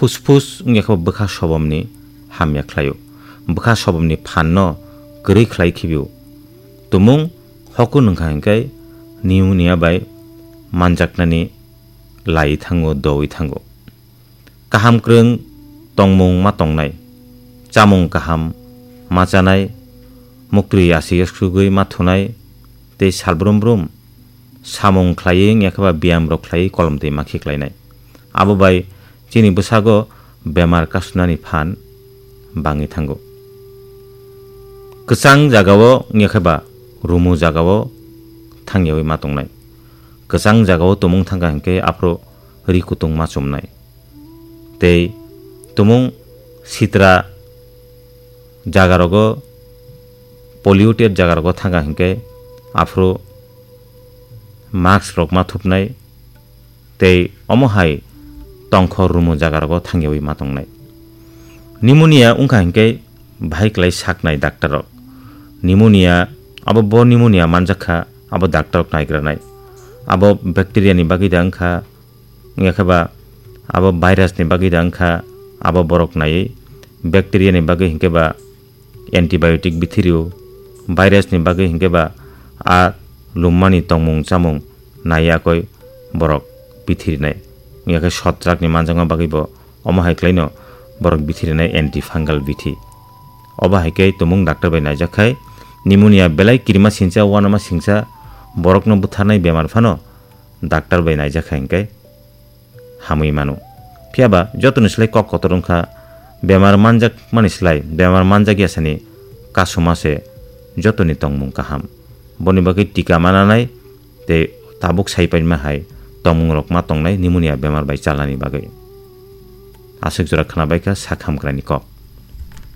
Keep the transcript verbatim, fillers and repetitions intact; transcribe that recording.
Phusphus wngya khe bwkha sobomni hamya khlaio. Bwkha sobomni phanno kwrwi khlai khibio. Tumung hoku nungkha hinkhe pneumonia bai manjaknani lai thango, doui thango. Kaham kwrwng tongmung ma tongnai, chamung kaham ma chanai, muktwi aswk aswkgwi ma thunai, tei salbrum brum samung khlaiwi wngya khe ba biyam rok khlaiwi kolom twi ma khiklainai. Abo bai chini bwsago bemar kasunani phan bangwi thango. Kwchang jagao wngya khe ba rumu jagao thangyawi ma tongnai. Kwchang jagao tumung thangkha hinkhe aphuru ri kutung ma chumnai. Tei tumung sitra jagarogo, polluted jagarogo thangkha hinkhe aphuru mask rok ma thupnai. Tei omo hai tongkhor rumu jagarogo thangyawi ma tongnai. Pneumonia wngkha hinkhe bahai klai saknai doctor rok. Pneumonia, abo bo pneumonia manjak kha, abo doctor rok naigranai. Abo bacteria ni bagwi da wngkha, wngya khe ba abo virus ni bagwi da wngkha, abo borok naiwi. Bacteria ni bagwi hinkhe ba antibiotic bithirio, virus ni bagwi hinkhe ba a lummani tongmung chamung naiya koi borok bithirinai. Wngya khe sotrak ni manjakma bagwi bo omo hai khlaino borok bithirinai antifungal bithi. Obo hai khe tumung doctor bai naijak khai pneumonia belai kirima singcha, uanama singcha, borokno butharnai bemar phano doctor bai naijak khai hinkhe hamwi mano. Phiya ba jotoni slai kok kotor wngkha, bemar manjak mani slai bemar manjak yasani kasuma se jotoni tongmung kaham. Boni bagwi tika ma nanai tei tabuk sai paima hai tongmung rok ma tongnai pneumonia bemar bai chalnani bagwi. Aswk jora khwna bai kha sak hamkraini kok.